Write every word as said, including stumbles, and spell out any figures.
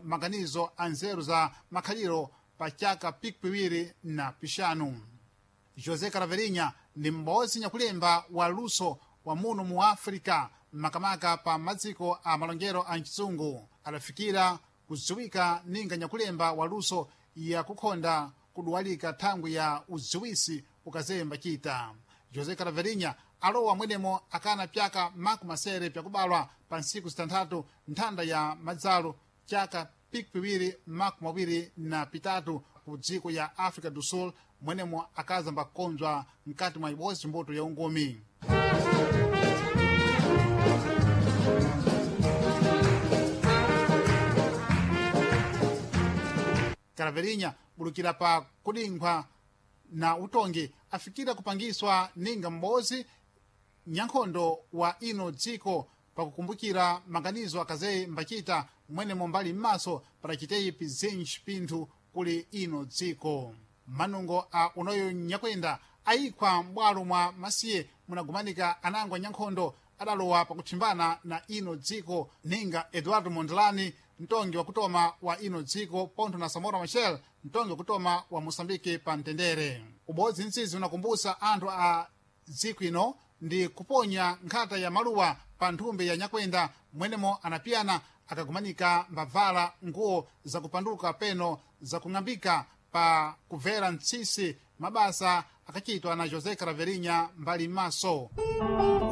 maganizo a nzeru za makhaliro pa chaka pikipiwiri na pixanu. José Caraverinha ndi m'bodzi nyakulemba wa luso wa muno mu África, makamaka pa madziko a malongero a mchizungu. Adafikira kudziwika ninga nyakulemba wa luso yakukhonda kuduwalika thangwi ya udziwisi ukazemba chita. José Caraverinha alowa mwenemo akana pyaka makumi masere pyakubalwa pa ntsiku zitanthatu nthanda ya madzalo chaka pikipiwiri makumi awiri na pitatu ku dziko ya África do Sul, mwenemo akazamba kukonzwa mkati mwa ibodzi mbuto ya ungumi. Caraverinha bulukira pa kudinkhwa na utongi afikira kupangiswa ninga m'bodzi nyankhondo wa ino dziko pakukumbukira maganizo akazeyi mbachita mwenemo mbali m'maso padachiteyi pizinji pinthu kuli ino dziko. Manungo a unoyo nyakwenda ayikhwa m'bwalo mwa masiye munagumanika anangwa nyankhondo adalowa pakuthimbana na ino dziko ninga Eduardo Mondlane, mtongi wakutoma wa ino dziko, pontho na Samora Machel, mtongi wakutoma wa Moçambique pa mtendere. Ubodzi mtsizi unakumbusa anthu a dziko ino ndi kuponya nkhata ya maluwa pa nthumbi ya nyakwenda mwenemo anapiyana akagumanika mbavala nguwo zakupanduka peno zakung'ambika pa kubvera mtsisi mabasa akachitwa na José Caraverinha mbali m'maso.